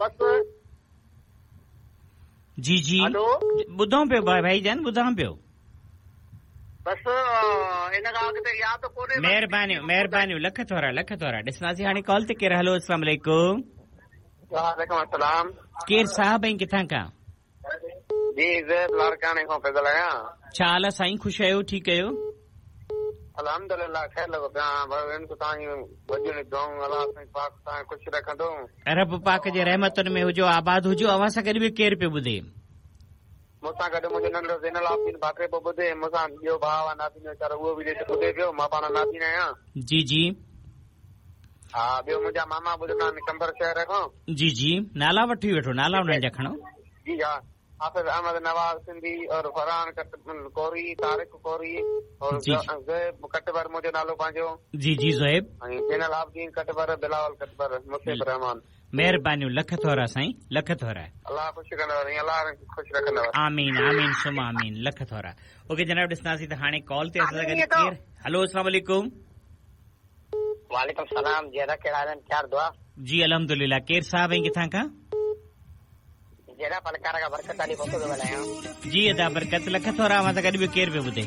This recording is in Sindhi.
بس جي جي هلو. ٻڌان پيو ڀائي جان ٻڌان پيو. بس ان کان اڳتي ياد ڪونهي. مهربانيون مهربانيون لک ٿورا لک ٿورا ڏسنداسين هاڻي ڪال تي ڪير هلو اسلام عليڪم. وعليڪم السلام. ڪير صاحب ۽ ڪٿان کان؟ جي زيب لاڙڪاڻي کان پيو ڳالهايان. ڇا حال آ سائين خوش آهيو ٺيڪ آهيو. الحمدلله خير لڳو پيو آهيان ڀائو ان توهان جون وڏيون دعائون الله سائين پاڪ توهان کي خوش رکندو. رب پاڪ جي رحمتن ۾ هجو آباد هجو اوهان سان گڏ ٻيو ڪير پيو ٻڌي. مون سان گڏ منهنجو ننڍڙو زين العابدين ڀاڪري پيو ٻڌي مون سان ٻيو ڀاء آهي نابين ويچارو اهو به ٻڌي پيو مان پاڻ نابين آهيان. جي جي. ها ٻيو منهنجا ماما ٻڌندا آهن قمبر شهر کان. جي جي نالا وٺي وٺو نالا انهن جا کڻو. جي ها حافظ احمد نواز سنڌي اور فرحان ڪوري طارق ڪوري اور زوهيب ڪٽبر منهنجو نالو پنهنجو. جي جي زوهيب. ۽ زين العابدين ڪٽبر بلاول ڪٽبر مصيب الرحمان. مهربانيون لک ٿورا سائين لک ٿورا. الله خوش ڪندو سائين الله خوش رکندو. آمين آمين ثم آمين لک ٿورا. اوڪي جناب ڏسنداسين ته هاڻي ڪال تي اسان سان گڏ ڪير هلو اسلام عليڪم. وعليڪم السلام جي ادا ڪهڙا حال آهن خير دعا. جي الحمدلله ڪير صاحب ۽ ڪٿان کان. جي ادا ڦلڪارا کان برڪت علي کوسو پيو ڳالهايان. جي ادا برڪت لک ٿورا اوهان سان گڏ ٻيو ڪير پيو ٻڌي.